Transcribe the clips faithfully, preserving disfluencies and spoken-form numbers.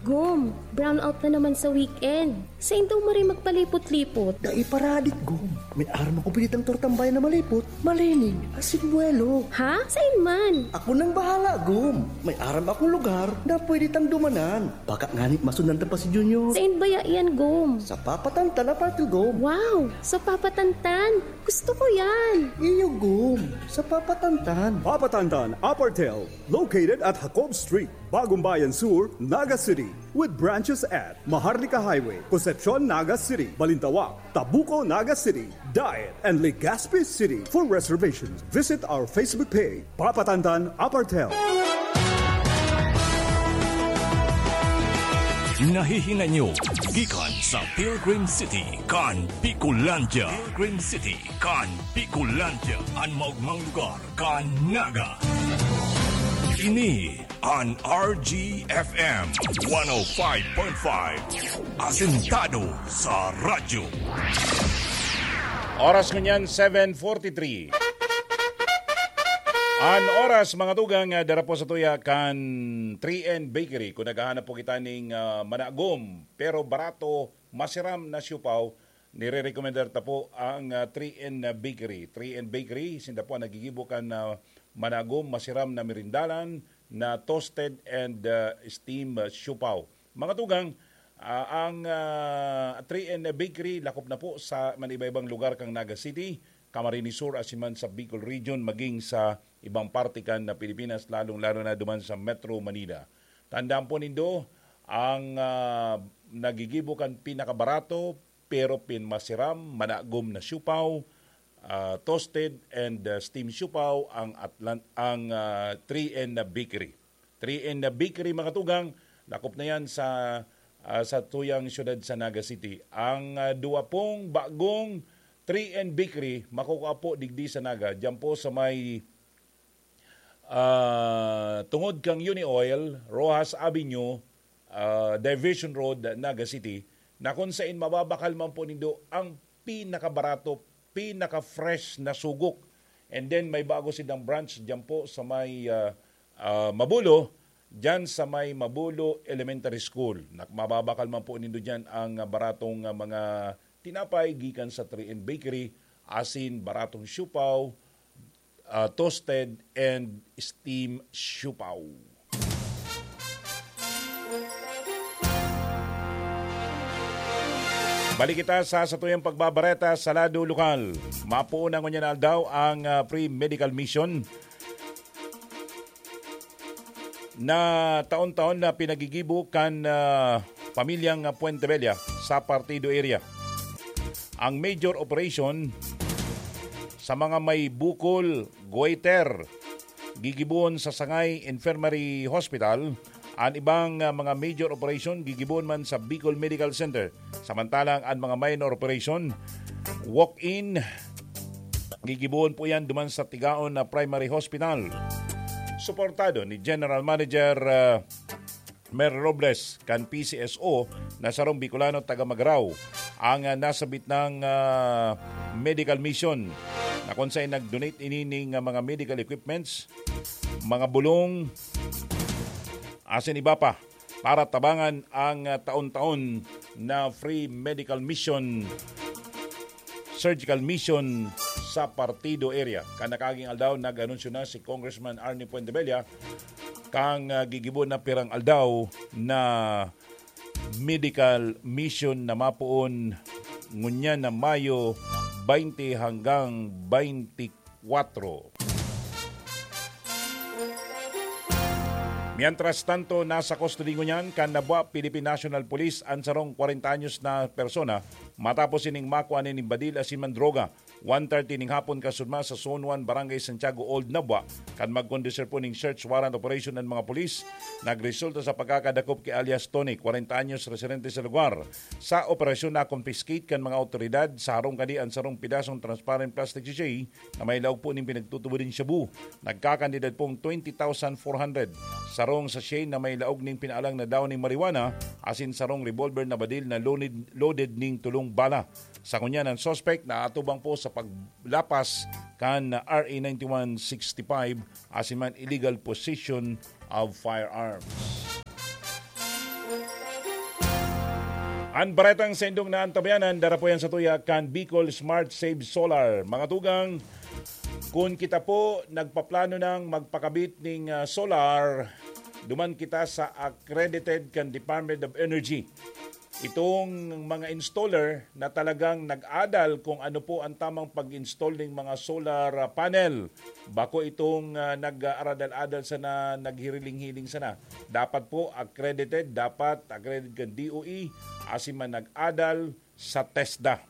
Gom, brownout na naman sa weekend. Sain daw maray magpalipot-lipot? Dai paradik, Gom. May aram ako pwede tang tortang bayan na malipot, malinig, asin buwelo. Ha? Sain man? Ako nang bahala, Gom. May aram akong lugar na pwede tang dumanan. Baka ngani masundan ta pa si Junior. Sain baya yan, Gom? Sa Papa Tantan Apartel, Gom. Wow! Sa Papa Tantan? Gusto ko yan! Iyo, Gom. Sa Papa Tantan. Papa Tantan Apartel, located at Jacob Street, Bagumbayan Sur, Naga City, with branches at Maharlika Highway, Concepcion, Naga City, Balintawak, Tabuco, Naga City, Daet, and Legazpi City. For reservations, visit our Facebook page, Papa Tantan Apartel. Nahihinay nyo gikan sa Pilgrim City kan Bicolandia. Pilgrim City kan Bicolandia, an maogmang lugar kan Naga. Ini an R G F M one oh five point five, asentado sa radyo. Oras ngunyan, seven forty-three. An oras, mga tugang, ah, dara po sa tuya kan three N Bakery. Kung naghahanap po kita ning, ah, managom, pero barato, masiram na siopao, nire-rekomendar ta po ang, ah, three N Bakery. Three N Bakery, sinda po ang naggigibo kan, ah, managom, masiram na merindalan, na toasted and, ah, steam, ah, siopao. Mga tugang, ah, ang, ah, three N Bakery lakop na po sa man iba-ibang lugar kan Naga City, Camarines Sur, asin man sa Bicol Region, maging sa ibang parte kan Pilipinas, lalong-lalo na duman sa Metro Manila. Tandaan po nindo, ang, ah, naggigibo kan pinakabarato, pero pinmasiram, managom na siopao, ah, toasted and, ah, steam siopao ang Atlan-, ang, ah, three N na bakery. Three N na bakery, mga tugang, lakop na yan sa, ah, sa tuyang siyudad sa Naga City. Ang, ah, duwa pong bagong three N bakery, makukuha po digdi sa Naga, diyan po sa may ah, tungod kang Uni Oil, Roxas Avenue, ah, Division Road, Naga City, na kung sain mababakal man po nindo ang pinakabarato, pinaka-fresh na sugok. And then may bago silang branch diyan po sa may, ah, ah, Mabulo, diyan sa may Mabulo Elementary School. Nak-, mababakal man po nindo diyan ang, ah, baratong, ah, mga tinapay gikan sa three N Bakery, asin baratong siopao, ah, toasted and steam siopao. Balik kita sa satuyang pagbabareta sa lado lokal. Mapoon na ngunyan na aldaw ang, ah, free medical mission na taon-taon na pinagigibo kan, ah, pamilyang Puente Vella sa Partido area. Ang major operation sa mga may bukol, goiter, gigibohon sa Sangay Infirmary Hospital. An ibang, ah, mga major operation gigibohon man sa Bicol Medical Center. Samantalang an mga minor operation, walk-in, gigibohon po yan duman sa Tigaon na Primary Hospital. Suportado ni General Manager, ah, Mer Robles kan P C S O na sarong Bicolano taga Magarao ang, ah, nasabit nang, ah, medical mission na kung saan nag-donate ini ning, ah, mga medical equipments, mga bulong, asin iba pa para tabangan ang, ah, taon-taon na free medical mission, surgical mission sa Partido area. Kan nakaaging aldaw, nag-anunsyo na si Congressman Arnie Fuentebella kang, ah, gigibo na pirang aldaw na medical mission na mapoon ngunyan na Mayo twenty hanggang twenty-four. Mientras tanto, nasa kustodiya ngunyan kan Nabua Philippine National Police an sarong kwarenta anyos na persona matapos ining makua nin badil asin man droga. One thirty ning hapon kasunma sa Zone one, Barangay Santiago Old, Nabua, kan magkondusir po ning search warrant operation an mga pulis, nagresulta sa pagkakadakop ki alias Tony, kwarenta anyos, residente sa lugar. Sa operasyon, na-confiscate kan mga awtoridad sa harong kadi an sarong pidasong transparent plastic sachet na may laog po nin pinagtutubod nin shabu. Nagkakantidad pong twenty thousand four hundred, sarong sachet na may laog nin pinaalang na dahon nin marijuana, asin sarong revolver na badil na loaded, loaded ning tolong bala. Sa ngunyan, an suspek naatubang po sa paglapas kan R A ninety-one sixty-five, asin man illegal possession of firearms. An baretang sa indong naantabayanan, dara po yan sa tuya kan Bicol Smart Save Solar. Mga tugang, kun kita po nagpaplano nang magpakabit ning, ah, solar, duman kita sa accredited kan Department of Energy. Itong mga installer na talagang nag-adal kung ano po ang tamang pag-install ning mga solar, ah, panel. Bako itong, ah, nag-aaradal-adal sana, naghiriling-hiling sana. Dapat po accredited, dapat accredited kan D O E, asin man nag-adal sa TESDA.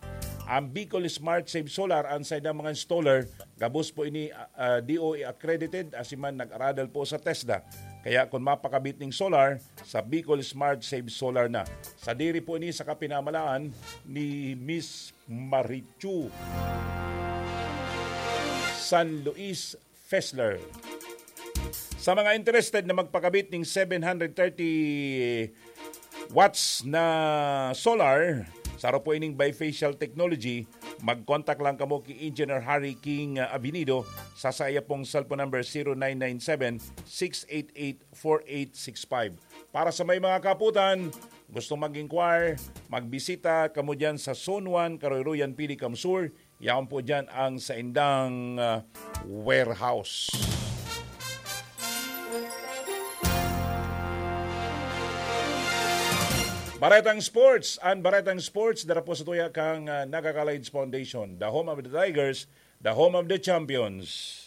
Ang Bicol Smart Save Solar, ang saindang mga installer, gabos po ini, ah, ah, D O E accredited, asin man nag-aradal po sa TESDA. Kaya kung mapakabit ning solar, sa Bicol Smart Save Solar na. Sadiri po ini sa kapinamalaan ni Miss Marichu San Luis Fessler. Sa mga interested na magpakabit ning seven hundred thirty watts na solar, saro po ining bifacial technology, mag-contact lang kamo ki Engineer Harry King, ah, Avenido sa saya pong cellphone number zero nine nine seven, six eight eight, four eight six five. Para sa may mga kaputan, gustong mag-inquire, magbisita kamo diyan sa Zone one, Karoyroyan, Pili, Kamsur. Yaon po diyan ang saindang, ah, warehouse. Baretang Sports, an Baretang Sports, dara po sa tuya kang, ah, Nagakalids Foundation, the home of the Tigers, the home of the champions.